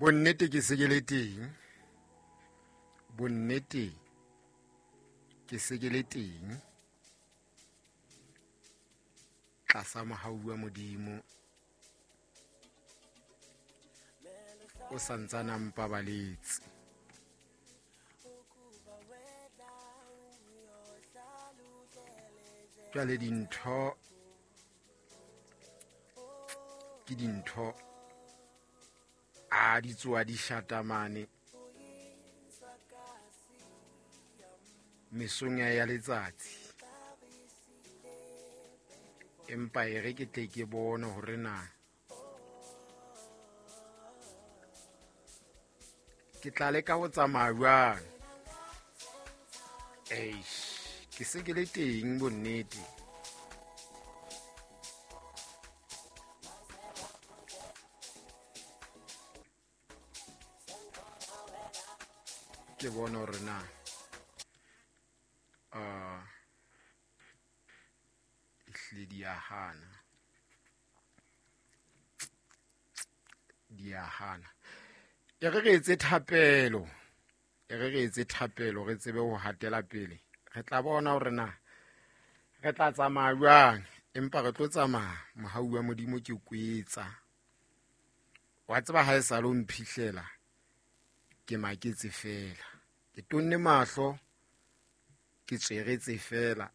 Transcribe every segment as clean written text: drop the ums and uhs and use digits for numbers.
Bonnete ke se ke le teng, bonnete ke se ke le teng tlasa mohau wa Modimo o sa ntsana mpabaletse. Jwale dintho ke dintho a di tsoa di shata mane mesong ya letsatsi, empa e re ke tle ke bone hore na ke tla leka ho tsamaya jwang. Eish, ke se ke le teng bonnete. Ke bone hore na ehlile di a hana, di a hana. E re re etse thapelo, e re re etse thapelo, re tsebe ho hatela pele. Re tla bona hore na re tla tsamaya jwang, empa re tlo tsamaya mohau wa Modimo ke kwetsa. Wa tseba ha e sa lo mphihlela, ke maketse fela, ke tonne mahlo, ke tsweretse fela.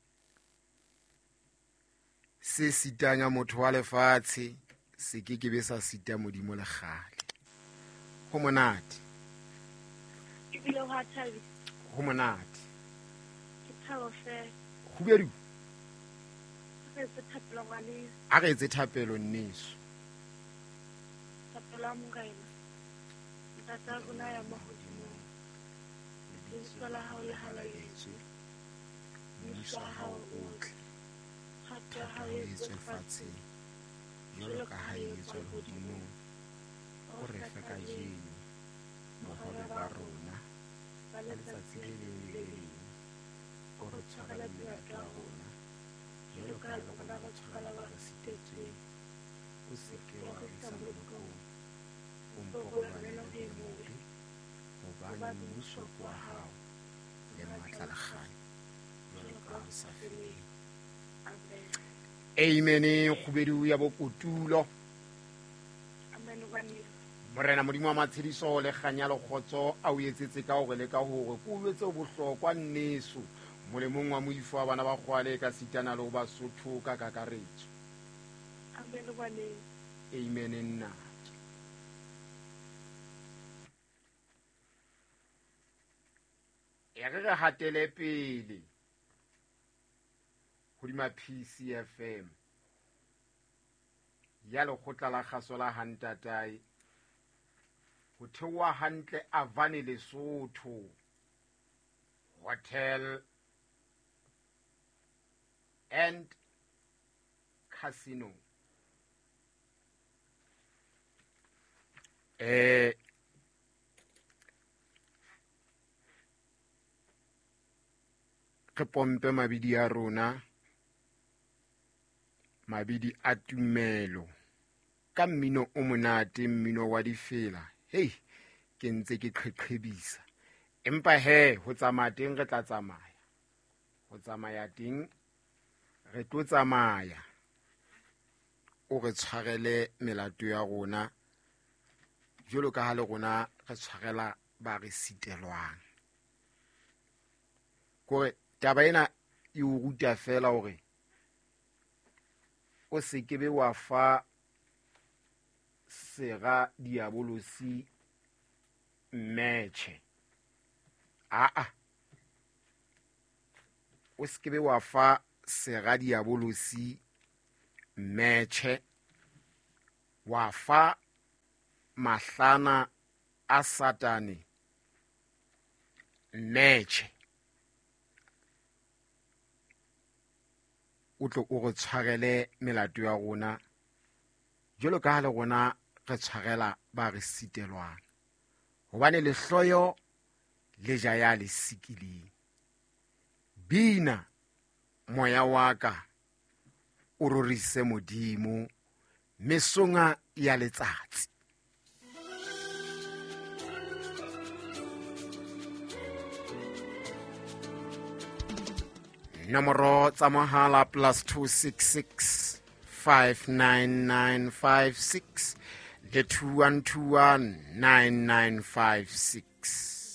Se sitang ya motho wa lefatshe se ke ke be sa sita Modimo le kgale. Ho monate. Ebile ho a thabisa. Ho monate. Ke thabo fela. Kgubedu. A re etse thapelo ngwaneso. A re etse thapelo nneso. Thapelo ya Morena. Ntate wa rona ya mahodimong, lebitso la hao le halaletswe, mmuso wa hao o tle, thato ya hao e etswe lefatsheng jwalo ka ha e etswa lehodimong. O re fe kajeno bohobe ba rona ba letsatsi le leng le le leng. O re tshwarele melato ya rona jwalo ka ha le rona re tshwarela ba re sitetsweng. O se ke wa re isa molekong, o mpo o lwanele ho e mobe, hobane mmuso ke wa hao le matla le kganya jwalo ka ho sa feleng. Amen. Amen. Kgubedu ya bokotulo. Amen, ngwaneso. Morena Modimo wa matshediso le kganya le kgotso a o etsetse ka hore le ka hore ke o jwetse o bohlokwa nneso molemong wa moifo wa bana ba kgwale ka sitana le ho Basotho ka kakaretso. Amen, ngwaneso. Amen nna. E re re hatele pele hodima PCFM ya lekgotla la kgaso la Hantatae ho theoha hantle Avane Lesotho Hotel and Casino. Re pompe mabidi a rona, mabidi a tumelo ka mmino o monate, mmino wa difela. Hei, ke ntse ke qheqhebisa, empa he ho tsamaya teng re tla tsamaya, ho tsamaya teng re tlo tsamaya. O re tshwarele melato ya rona jwalo ka ha le rona re tshwarela ba re sitelwang. Kore taba ena e o ruta fela hore o se ke be wa fa sera diabolosi mmetjhe. Aa, o se ke be wa fa sera diabolosi mmetjhe, wa fa mahlana a Satane mmetjhe. O tlo o re tshwarele melato ya rona jwalo ka ha le rona re tshwarela ba re sitelwang, hobane lehloyo le ja ya le sikileng. Bina moya wa ka o rorise Modimo mesonga ya letsatsi. Nomoro tsa mohala +266 59956 le 2121 9956.